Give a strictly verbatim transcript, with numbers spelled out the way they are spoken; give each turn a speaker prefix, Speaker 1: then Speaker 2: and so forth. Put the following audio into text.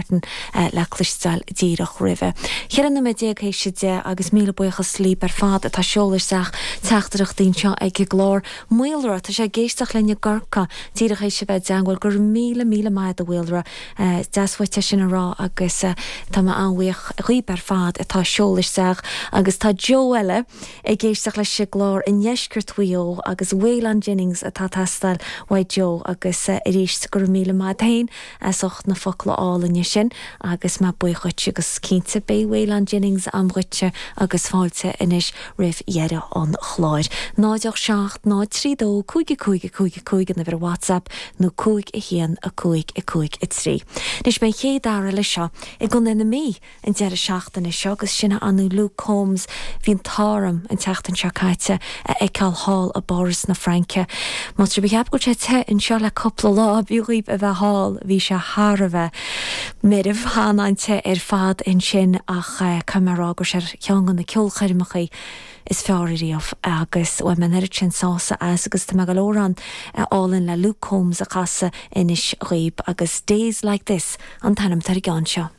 Speaker 1: Martin uh, le cloisteáil díreach roimhe. Ceithre nóiméad déag théis a deich agus míle buíochas libh ar fad atá ag seoladh isteach teachtaireachtaí anseo ag an gclár. Maolra tá sé ag éisteacht linn i gCorcaigh díreach théis a bheith i dteagmháil go raibh míle míle maith a Mhaolra deas uait sin a rá agus uh, tá mé an-bhuíoch díbh ar fad atá ag seoladh isteach agus tá Joe eile ag éisteacht leis an gclár i ndeisceart Mhaigh Eo agus Waylon Jennings atá ag teastáil uaidh Joe agus uh, arís go raibh míle maith féin as ucht na focla álainne sin agus mé buíoch agus cinnte beidh Waylon Jennings agam dhuitse agus fáilte anois roimh dheireadh an chláir. Náid seacht ná trí dó cúig cúig cúig cúig an uimhir WhatsApp nó cúig a haon a cúig a cúig a trí. Anois beidh an chéad fhear eile seo i gContae na Mí an deireadh seachtaine seo agus sin an Luke Combs bhí an t-ádh orm an tseachtain seo caite a fheiceáil thall i bPáras na Fraince. Má tá sibh go sé te anseo le cúpla lá bhíomh a bheith thall bhí sé thar a bheith meirbh an-te ar fad ansin ach camará gur sé ceann de na ceolchoirmeacha is fearr riamh agus bhain mé an oiread sin sásamh as agus tá go leor amhrán álainn le Luke Combs a chasadh anois dhaoibh agus Days Like This an t-ainm ar an gceann seo.